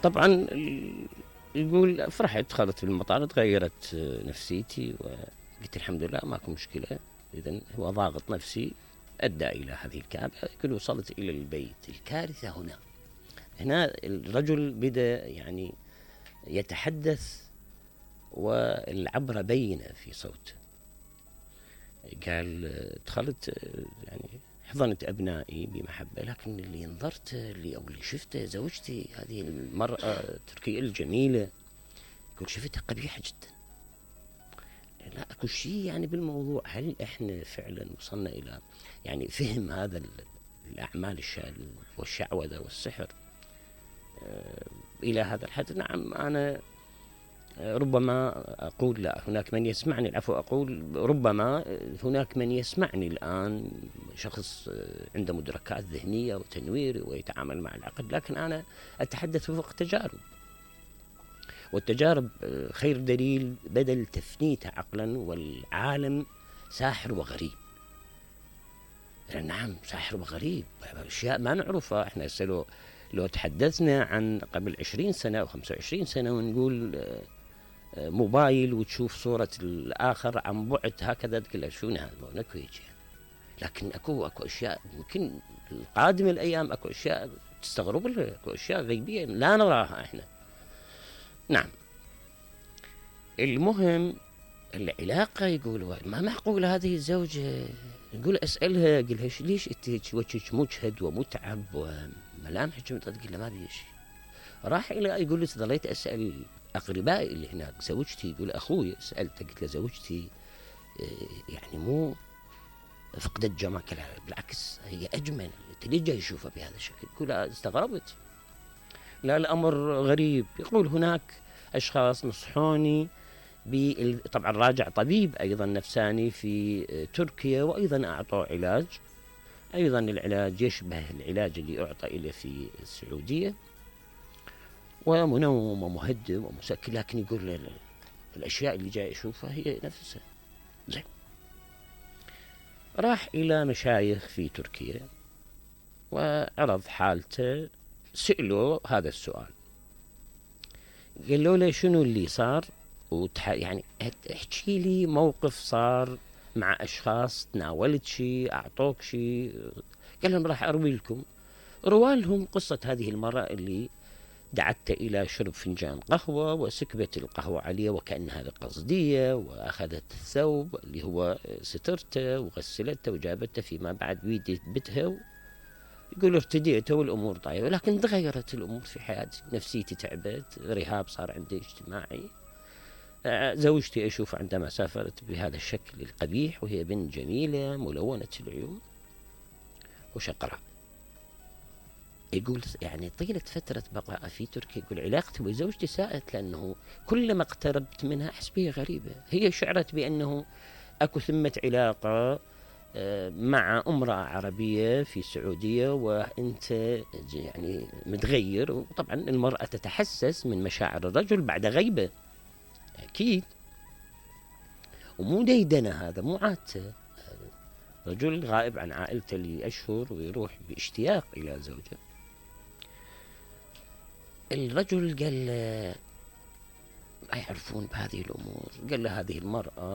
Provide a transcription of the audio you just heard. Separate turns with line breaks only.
طبعا يقول فرحت، دخلت في المطار تغيرت نفسيتي وقلت الحمد لله ماكو مشكلة. إذن هو ضاغط نفسي أدى إلى هذه الكآبة. يقول وصلت إلى البيت. الكارثة هنا الرجل بدأ يعني يتحدث والعبرة بينة في صوته. قال دخلت يعني حضنت أبنائي بمحبة، لكن اللي نظرت أو اللي شفته زوجتي هذه المرأة التركية الجميلة، يقول شفتها قبيحة جدا. لا أكو شيء يعني بالموضوع. هل إحنا فعلا وصلنا إلى يعني فهم هذا الأعمال والشعوذة والسحر إلى هذا الحد؟ نعم، أنا ربما أقول لا، هناك من يسمعني، العفو، أقول ربما هناك من يسمعني الآن شخص عنده مدركات ذهنية وتنوير ويتعامل مع العقل، لكن أنا أتحدث وفق تجارب، والتجارب خير دليل بدل تفنيته عقلا. والعالم ساحر وغريب. نعم ساحر وغريب، أشياء ما نعرفها. احنا لو تحدثنا عن قبل 20 سنة أو 25 سنة ونقول موبايل وتشوف صورة الآخر عن بعد هكذا تقول شو هذا؟ اكو هيك. لكن اكو اشياء يمكن القادم الايام، اكو اشياء تستغرب لها، اكو اشياء غيبية لا نراها احنا. نعم. المهم العلاقة، يقول ما معقول هذه الزوجة. يقول اسألها، قل لها ليش انت وجهك مجهد ومتعب وملامحك تقول له ما بي شيء. راح الى يقول لي ظليت اسال اقربائي اللي هناك، زوجتي، يقول اخوي سالته قلت له زوجتي يعني مو فقدت جمالها، بالعكس هي اجمل، انت ليش جاي تشوفها بهذا الشكل؟ يقول استغربت، لا الامر غريب. يقول هناك اشخاص نصحوني طبعا راجع طبيب ايضا نفساني في تركيا، وايضا اعطوه علاج، ايضا العلاج يشبه العلاج اللي اعطى اليه في السعوديه، ومنوم ومهدئ ومسكن، لكن يقول الاشياء اللي جاي اشوفها هي نفسها. زين. راح الى مشايخ في تركيا وعرض حالته، سألوا هذا السؤال، قالوا له شنو اللي صار، يعني احكي لي موقف صار مع اشخاص، تناولت شيء، اعطوك شيء. قال لهم راح اروي لكم. روالهم قصة هذه المرأة اللي دعته إلى شرب فنجان قهوة وسكبت القهوة عليه وكأنها بقصدية، وأخذت الثوب اللي هو سترته وغسلته وجابته فيما بعد بيتها. يقول ارتديته والأمور طيبة، لكن تغيرت الأمور في حياتي، نفسيتي تعبت، رهاب صار عندي اجتماعي. زوجتي أشوف عندما سافرت بهذا الشكل القبيح، وهي بنت جميلة ملونة العيون وشقراء. يقول يعني طيلة فترة بقاء في تركيا، يقول علاقتي بزوجتي ساءت، لأنه كلما اقتربت منها أحس بها غريبة. هي شعرت بأنه أكو ثمة علاقة مع امرأة عربية في السعودية، وأنت يعني متغير. وطبعا المرأة تتحسس من مشاعر الرجل بعد غيبة أكيد، ومو ديدنة، هذا مو عادته. رجل غائب عن عائلته لأشهر ويروح باشتياق إلى زوجه. الرجل قال ما يعرفون بهذه الأمور. قال له هذه المرأة